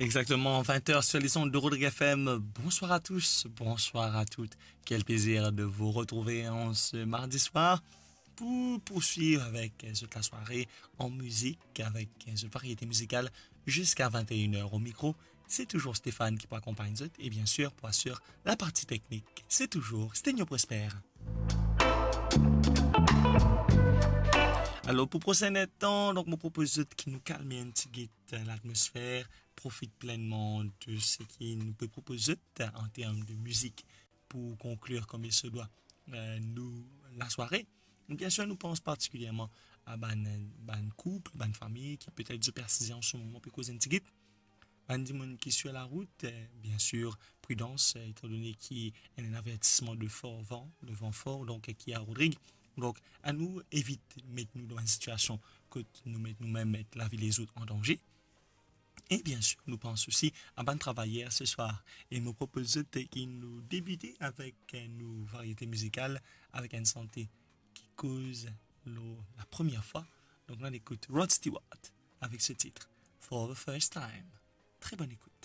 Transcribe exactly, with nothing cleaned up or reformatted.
Exactement, vingt heures sur les ondes de Rodrigue F M. Bonsoir à tous, bonsoir à toutes. Quel plaisir de vous retrouver en ce mardi soir pour poursuivre avec, euh, zot la soirée en musique, avec, euh, zot variété musicale jusqu'à vingt et une heures. Au micro, c'est toujours Stéphane qui peut accompagner zot et bien sûr pour assurer la partie technique, c'est toujours Stenio Prosper. Alor, pou prosin tan, donk, mo propoz zot ki nou kalme enn tigit, euh, latmosfer, profit plenman de seki nou pe propoz zot, euh, an term de mizik pou konklir comme il se doit, euh, nou, la soirée. Bien sûr, nou pans partikilièrman a bann, bann koup, bann fami ki petet zot pe asize an se moman, pe koz enn tigit. Bann dimoun ki sur la rout, euh, bien sûr, pridans, euh, étant donné ki ena enn avertisman de for van, de van for, donk, ki a Rodrig. Donk, anou evit met nou dan enn sitiasion kot nou met nou mem, met lavi lezot an danze. E bien sûr, nou pans osi a bann travayer se swar. E mo propoz zot ki nou debite avek, euh, nou variété musicale, avek enn sante ki koz lor la première fois. Donk, nou al ekout Rod Stewart avec ce titre, For the First Time. Très bonne écoute.